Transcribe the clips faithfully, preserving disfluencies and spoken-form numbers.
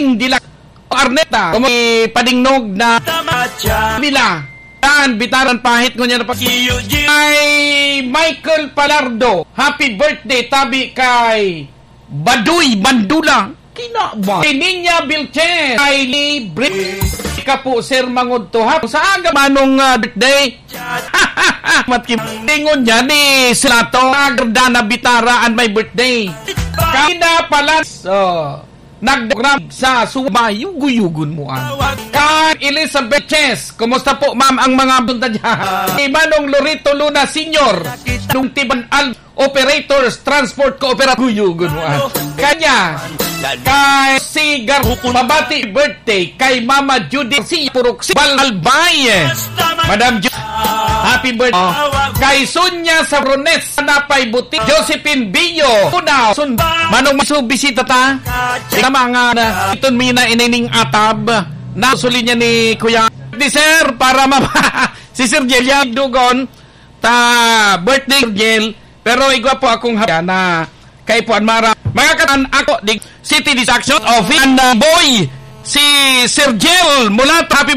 Dila Arneta, kung may padingnog na nila. Tan, bitaran pahit ngunyan na pa-, ay Michael Palardo, happy birthday, tabi kay Baduy Bandula. Kinawa. Kay Ninya Vilches, ay libre ka po, Sir Mangudto, ha? Sa aga manong, ah, birthday. Matkim-, tingon niya ni Silato, Agda na Bitara an may birthday. Kaya pala, so, nagprogram sa Suba, yugo-yugon mo, ah. Kay Elizabeth Ches, kumusta po, ma'am, ang mga punta dyan? Si Manong Lorito Luna Senior, nung Tiban Al-, Operators, Transport Cooperative, yugo-yugon mo, ah. Kanya, kay Sigar, mabati birthday kay Mama Judy Garcia Purok, si Bal Albay. Madam Ju-, happy birthday. Oh. Kay Sonia Sabrones, Napay Buti, Josephine Bio, Una, Sun-, Manong Masu, bisita ta. Sa mga na, iton mi na inining atab, na suli niya ni Kuya. Di, sir, para ma-, si Sir Jel, yan, dugon, ta birthday, Sir Jel, pero igwa po akong hapya na kay Puan Mara. Mga katan, ako, di, City Distraction Office, and, uh, boy, si Sir Jel, mula ta-, happy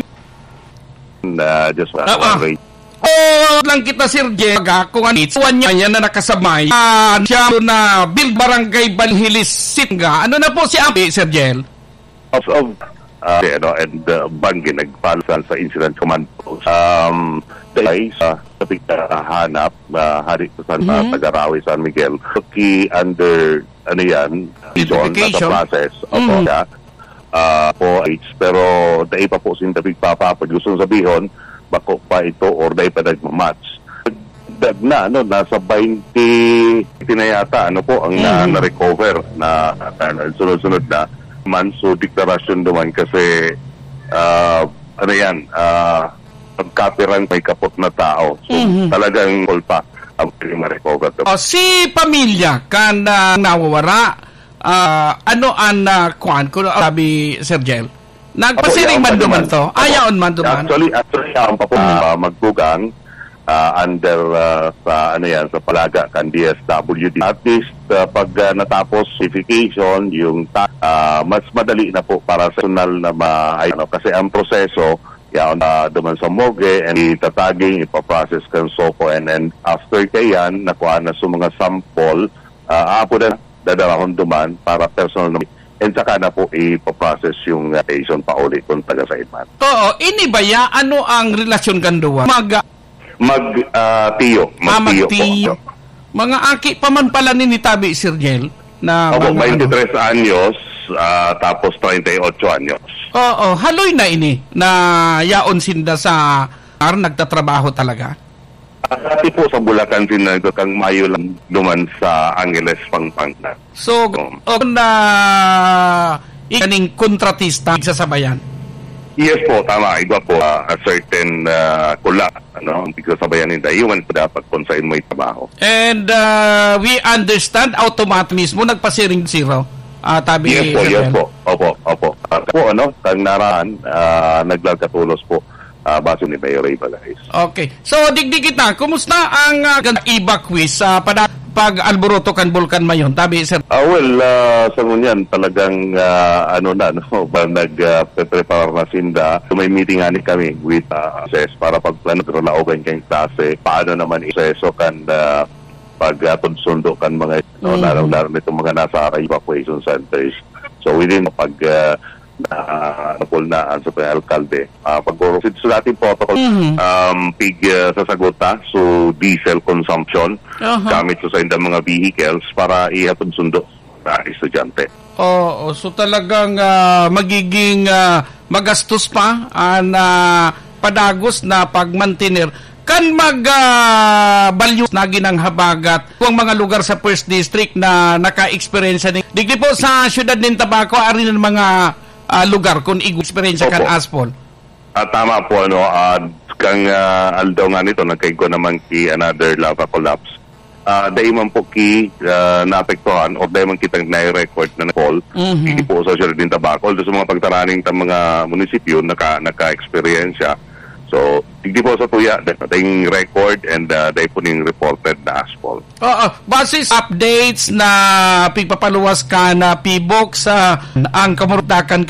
Na just Ah, ah. wondering. Oh, lang kita, Sir Jel. Baga, kung ano, ituan niya yan na nakasabay. Ah, siya na Bill Barangay Balhilis, Singa. Ano na po si Api, Sir Jel? Of, of, ah, ano, and, uh, Banggi, nagpalsan sa Incident Command Post. Um, the guys, uh, sa pagkahanap, uh, hari sa San, Mhm. Tagarawi, San Miguel. Ki under, ano yan, Zone, nasa Identification. process. Opo, Mhm. siya. Ah, po, age. Pero dai pa po sinda pigpapapod. Gusto sabihon, bako pa ito or dai pa nagmamatch. Dag na, ano, nasa twenty, twenty na yata, ano po, ang na, Mhm. na-recover na, na, na sunod-sunod na man. So, deklarasyon naman kasi, ah, ano yan, ah, pagkapirang may kapot na tao. So, Mhm. talagang kulpa ang pwede ma-recover. O, si pamilya kan, ah, nawawara, ah, ano an, ah, kuwan, kung sabi, Sir Jel? Nagpasiring Apo, yaon man pa duman duman. to? Ah, Apo. yaon man duman? Actually, actually, yaon pa po, Ah. ah, magbugang, ah, under, ah, sa, ano yan, sa palaga kan D S W D. At least, ah, pag, ah, natapos verification, yung ta-, ah, mas madali na po para sa personal na ma-, ay, ano, kasi ang proseso, yaon, ah, duman sa morgue, and itataging, ipaprocess kan SOCO, and, and after kayan, nakuha na sa mga sample, ah, apo na dadalahon duman para personal na, and saka na po ipaprocess yung, ah, patient pauli kung taga saan man. Oo, ini ba ya? Ano ang relasyon kan duwa? Mag- Mag, ah, tiyo. Ah, Magtiyo po. magtiyo. Mga aki pa man pala ni, ni tabi, Sir Jel, na Opo, mga ano. twenty-three anyos, ah, tapos treinta y ocho anyos. Oo, haloy na ini na yaon sinda sa ar, nagtatrabaho talaga? Ah, dati po sa Bulacan, sinaldo kang Mayo lang duman sa Angeles, Pampanga. So, Um. o na ikaning kontratista, sasabayan? Yes po, tama. Igwa po, ah, a certain, ah, kula, ano, ang pigsasabayan ninda. Iwan po dapat kung saan mo'y trabaho. And, ah, we understand, automatic mismo, nagpasiring zero. Ah, tabi, Yes po, Sir yes Mel. po. Opo, opo. Ah, po, ano, kang naran, ah, naglalkatulos po, ah, base ni Mayor Ray Balais. Okay. So, digdi kita, kumusta ang, ah, evacuees sa pada-, pag-alboroto kan Bulkan Mayon? Tabi, Sir. Ah, well, ah, sa ngunyan, talagang, ah, ano na, no, ba, nag, ah, pre-prepare na sinda. So, may meeting ani kami with, ah, S S para pagplano, pero naogan kayong klase. Paano naman iseso kan, ah, pag, ah, pagsundo kan mga, no, Mhm. lalong-lalo nitong mga nasa evacuation centers. So, within pag, ah, na napulnaan sa pag-alkalde. Ah, pag-, sa dating protocol, Mhm. um, pig, ah, sasagot ta, so diesel consumption, Aha. gamit sa saindang mga vehicles para ihapon sundo sa estudyante. Oo, so talagang, ah, magiging, ah, magastos pa ang, ah, padagos na pagmantener. Kan mag, ah, balyo na ginang habagat, ang mga lugar sa First District na naka-eksperyensya ni, digdi po sa siyudad nin Tabaco, ari ng mga, ah, lugar kung igo eksperyensya kan Opo. Aspol. Ah, tama po, ano, ah, kang, ah, aldaw nga nito, nagkaigwa naman ki another lava collapse. Ah, dai man po ki, ah, naapektuhan or dai man kitang nai-record na nag-fall. Mhm. Hindi po sa siyudad nin Tabaco. Although sa mga pagtaraning ta mga munisipyo, naka-, naka-eksperyensya. So, hindi po sa tuya, dating record and, ah, dai po ning reported na aspol. Oo, basis updates na pigpapaluwas kan PHIVOLCS, ang kamurdakan